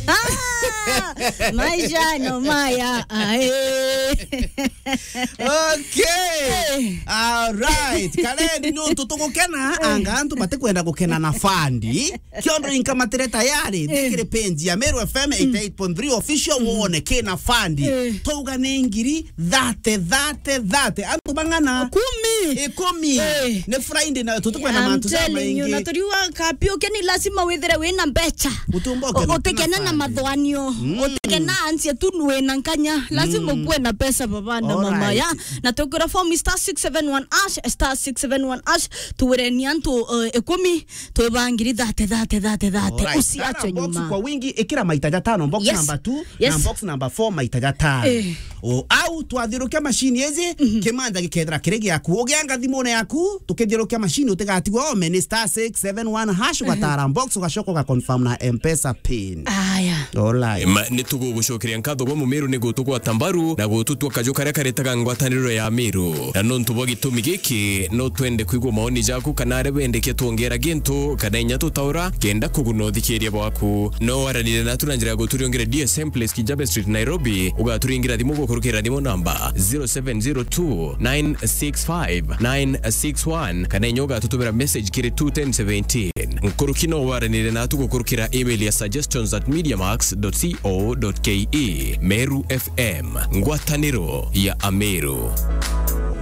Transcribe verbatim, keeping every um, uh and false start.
Ah, maisha no maya, ae. Okay. All right. Kalendi, nontu tugukena, anga antu batikwenda gukena na fandi. Kiondo inkamatire tayari, thikire page ya Meru F M eighty-eight point three official, wone kina fandi. Eh. Twauga ni ngiri thirty, thirty, thirty. Antu bang'ana? Kumi. Ikumi. Eh. Ni Friday na tutikwenda mantu jamaingi. I'm telling you, na turiuga kapi ukeni lazima withire wina mbecha. Utumba ukena na mathwanio. Mm. Utikena ansie tu wina nkanya. Lazima ukuwe na pesa, baba na mama, ya. Na tukira form star six seven one hash, star six seven one hash, tuwireni antu, eh, ikumi, twibangiri thirty, thirty, thirty, thirty. Alright. Usiachwe nyuma. Box kwa wingi, ikira maita jatano, box number two, na box number four, maita jatano. Eh. O, au twathiurukia machine iji, kimanja gikethira kiri giaku. Ugianga thimune yaku, tukithiurukia machine, utigatigwa ome, ni star six seven one hash, ugatara box, ugacoka ugaconfirm na M-Pesa pin. Aya. Alright. Ma, ni tugugucokeria nkatho gwa Mumiru ni gutugwata mbaru na gututua kaju karia karetaga ngwataniro ya Miru. Na nontu bwa gitumi giki, no twende kwigua maoni jaku kana aria wendekia twongera gintu kana inya tutaura kenda kuguna uthikiria bwaku. No waranire natu na njira ya guturiongera D S M Place, Kijabe Street, Nairobi. Ugaturingira thimu gukurukira thimu namba zero seven zero two nine six five nine six one, kana inya ugatutumira message kiri two ten seventeen. Nkuruki no waranire natu gukurukira email ya suggestions at mediamax dot co dot ke. Meru F M, ngwataniro ya Ameru.